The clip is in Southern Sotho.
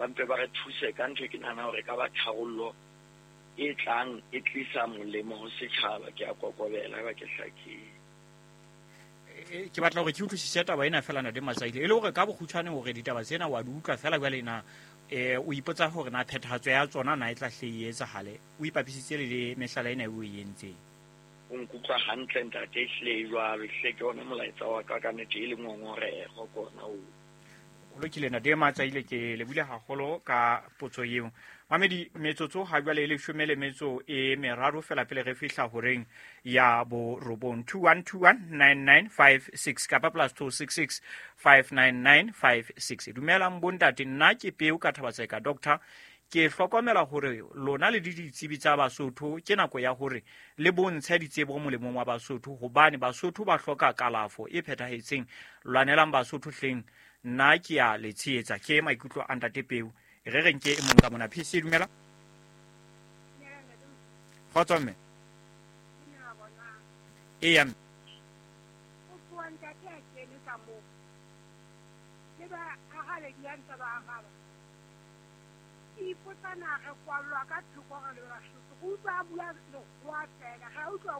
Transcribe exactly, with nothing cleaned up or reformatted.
Ba mpe ba re thuse ka ntho e ke nahana hore ka ba tharollo e tlang e tlisa molemo ho setjhaba. Ke a kokobela ha ba ke hlakile. Ke batla hore ke utlwisise taba ena fela, Ntate Matsaile, e le hore ka bokgutshwane hore ditaba tsena wa di utlwa fela jwale na eh o ipotsa hore na phethahatso ya tsona na e tla hle e etsahale, o ipapisitse le le mehlala ena e o e entseng. O nkutlwa hantle, ntate, ehlile e jwalo, ehlile ke ona molaetsa wa ka ka nnete, e le ngongoreho kona oo. Ho lokile, Ntate Matsaile, ke lebile haholo ka potso eo. Mamedi, metsotso ha jwale e leshome le metso e meraro fela pele re fihla horeng ya borobong. Two one two one nine nine five six kapa plus two six six five nine nine five six. Dumelang bontate, nna ke Peo ka Thabatseka. Doctor, ke hlokomela hore lona le ditsebi tsa Basotho, ke nako ya hore le bontshe ditsebo molemong wa Basotho, hobane Basotho ba hloka kalafo e phethahetseng. Lwanelang Basotho hleng, nna ke a le tshehetsa. Ke maikutlo a Ntate Peo. E re reng ke e mong ka mona. P C, dumela. Kgotso mme. Eya mme. O tloha ntate a kene ka moo le ba arabedi ya ntse ba araba, ke ipotsa na re kwallwa ka thoko re le Basotho. Re utlwa a bua lekgowa fela, ga utlwa.